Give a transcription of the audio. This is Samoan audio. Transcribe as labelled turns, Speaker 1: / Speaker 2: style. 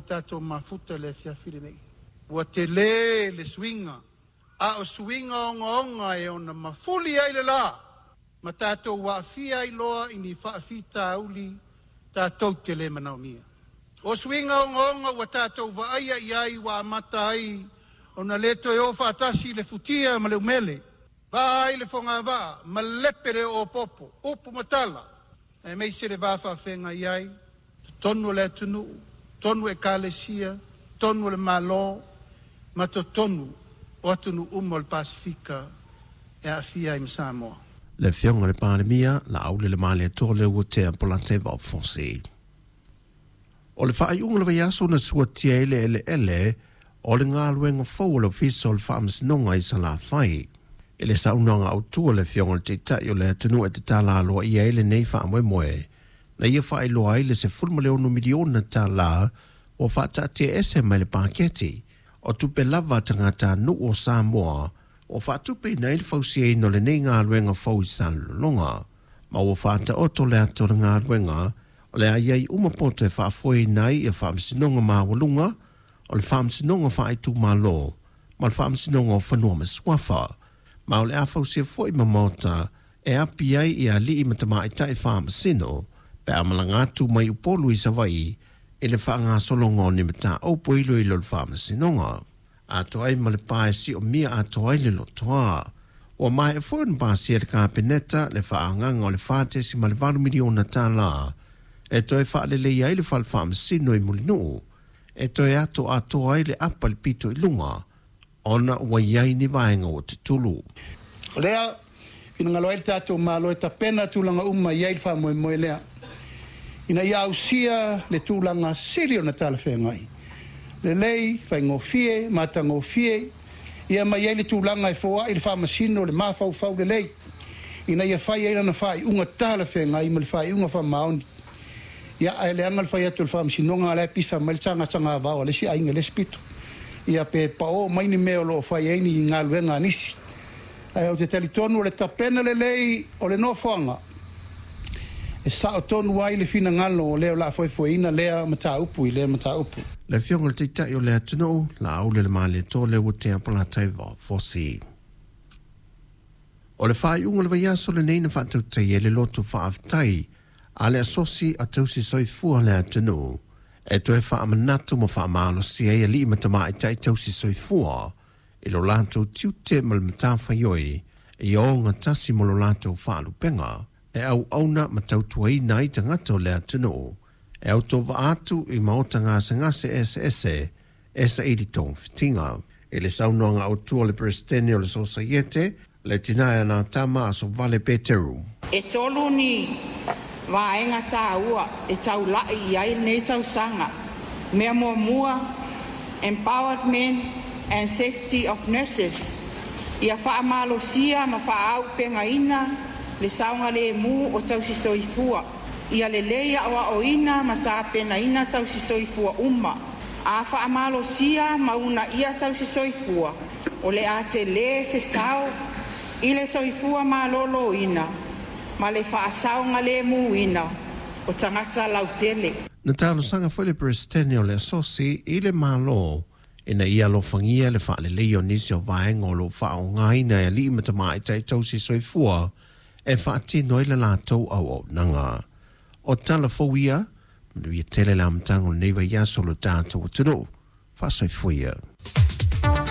Speaker 1: ua tatou mafuta i le afiafi lenei. Ua tele le suiga, a o suiga ogaoga e ona mafuli ai le la, ma tatou aafia ai loa i ni faafitauli tatou te le manaomia. O suiga ogaoga ua tatou vaaia i ai ua amata ai ona le toe o faatasi le futia ma le umele, va ai le fogavaa ma lepe le oopopo, upu ma tala, aemaise le va faafeagai ai totonu o le atunuu, totonu o ekalesia, totonu o le Malo ma totonu o atunuu uma o le Pasefika e aafia ai ma Samoa.
Speaker 2: Le Afioga i le Palemia, Laaulialemalietoa Leuatea Polataivao Fosi. O le faaiuga o le vaiaso na suatia ai le eleele o le galuega fou a le Ofisa o le Faamasinoga i Salafai. I le saunoaga autu a le Afioga i le Taitai o le atunuu e tatala aloaia ai lenei faamoemoe, na ia faailoa ai le $16 miliona tala ua faataatiaese mai le paketi o tupe lava a tagatanuu o Samoa ua faatupeina ai le fausiaina o lenei galuega fou i Salelologa, ma ua faataoto le ata o le galuega o le a i ai uma poto e faafoeina ai ia faamasinoga maualuga o le Faamasinoga Faaitumalo ma le Faamasinoga o Fanua ma Suafa, ma o le a fausia foi ma maota e api ai ia alii ma tamaitai faamasino pe a malaga atu mai Upolu i Savaii i le faagasologa o ni mataupu e iloilo i le Faamasinoga. Atoa ai ma le pa e siomia atoa ai le lotoa. Ua maea foi ona pasia e le Kapeneta le faaagaga o le $4.8 miliona tala e toe faaleleia ai le fale faamasino i Mulinuu, e toe ato atoa ai le apa i le pito i luga ona ua i ai ni vaega ua tutulu.
Speaker 1: O lea finagalo ai le tatou Malo e tapena tulaga uma e i ai le faamoemoe lea, ina ia ausia le tulaga sili ona talafeagai, lelei, faigofie, matagofie, ia ma i ai le tulaga e foai le faamasino le mafaufau lelei, ina ia fai ai lana faaiuga talafeagai ma le faaiuga faamaoni. Ia, ae leaga le fai atu o le faamasinoga a o la e pisa mai le sagasagavao a le isi aiga i le isi pito, ia pe pao mai ni mea o lo o fai ai ni galuega a nisi. Ae ou te talitonu o le tapena lelei o le nofoaga e sao tonu ai le finagalo o le o le a foefoeina lea mataupu i lea mataupu.
Speaker 2: Le Afioga i le Taitai o le atunuu, Laaulialemalietoa Leuatea Polataivao Fosi. O le faaiuga o le vaiaso lenei na faatautaia ai le loto faafetai a le Asosi a Tausi Soifua a le atunuu e toe faamanatu ma faamalosia ai alii ma tamaitai tausi soifua i lo latou tiute ma le matafaioi ia ogatasi ma lo latou faalupega e auauna ma tautuaina ai tagata o le atunuu e autovaa atu i maota gasegase eseese e saili togafitiga. I le saunoaga autu a le Peresetene o le Sosaiete, le tina e Anatama Asovale Peteru.
Speaker 3: E tolu ni vaega tāua e taula'i i ai lenei tausaga. Mea muamua, Empowerment and Safety of Nurses, ia faamalosia ma faaauupegaina le saogalemu o tausisoifua, ia lelei aoaoina ma tapenaina tausisoifua uma. A faamalosia ma uunaia tausisoifua, o le a telē se sao i le soifua maloloina ma le faasaogalēmūina o tagata lautele.
Speaker 2: Na talosaga foi le Peresetene o le Asosi i le Malo ina ia alofagia le faaleleia o nisi o vaega o lo o faaaogaina e alii ma tamaitai tausi soifua e faatino ai le latou auaunaga. O tala fou ia, manuia tele le amataga o lenei vaiaso o lo tatou atunuu. Faasoifua ia.